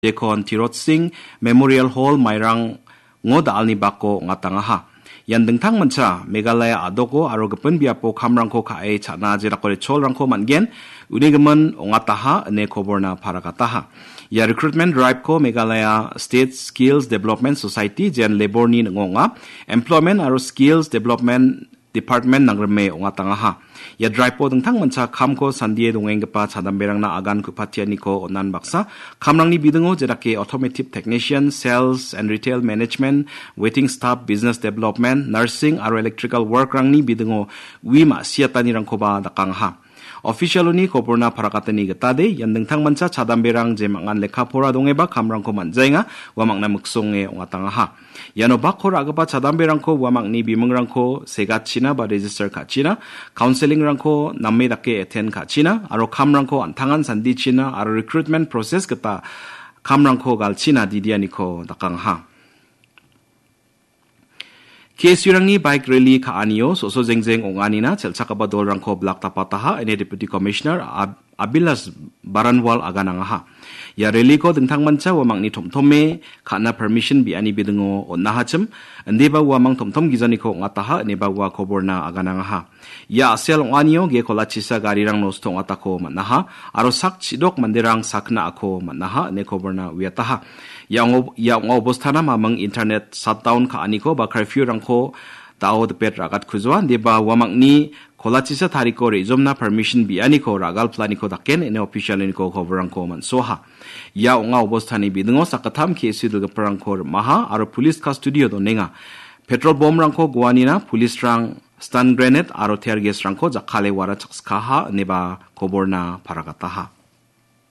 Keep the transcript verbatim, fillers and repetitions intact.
Jekon Tirot Singh Memorial Hall Mairango da·alni bako ong·atangaha. Ian dingtangmancha Meghalaya a·doko aro gipin biapo kamrangko ka·e cha·na jedako recholrangko man·gen, unigimin ong·ataha ine koborna paragataha. Ia recruitment drive-ko Meghalaya State Skills Development Society, jean labour-ni ning·o ong·a, Employment aro Skills Development Department nangrime ong·atangaha. Ia drive-o dingtangmancha kamko sandie dongenggipa chadamberangna agan ku·patianiko on·an baksa, kamrangni bidingo jedake automotive technician, sales and retail management, waiting staff, business development, nursing aro electrical work-rangni bidingo ui ma·siatanirangkoba dakangaha. Official-oni koborna parakatani gitade, ian dingtangmancha chadamberang jemangan lekka pora dongeba kamrangko man·jaenga, uamangna miksonge ong·atangaha. Iano bakko ra·gipa chadamberangko uamangni bimingrangko segachina ba register ka·china, counseling-rangko name dake attend ka·china, aro kamrangko an·tangan sandichina, aro recruitment process gita kamrangko galchina didianiko dakangaha. K S U-rangni bike rally ka·anio so·so jengjeng ong·anina chelchakgipa dolrangko blak tapataha, ine Deputy Commissioner Ab-, Abhilash Baranwal aganangaha. Ia rally-ko dingtangmancha uamangni tomtome ka·na permission biani bidingo on·ahachim, indiba uamang tomtom gijaniko ong·ataha, ineba ua koborna aganangaha. Ia a·sel ong·anio ge kolachisa garirang nosto ong·atako man·aha, aro sak chidok manderang sakna ako man·aha, ine koborna uiataha. Ia ong-, ia ong·a obostana maming internet shutdown ka·aniko ba curfew-rangko dao dipet ragatkujoa, deba uamangni kolachisa tariko re·jomna permission bianiko ragalplaniko daken ine official-niko koborrangko man·soaha. Ia ong·a obostani bidingo sakgittam K S U dilgiparangko rim·aha aro police custody-o donenga. Petrol bomb-rangko goanina police-rang stun grenade aro tear gas-rangko jakkale wara chakskaha ineba koborna paragataha.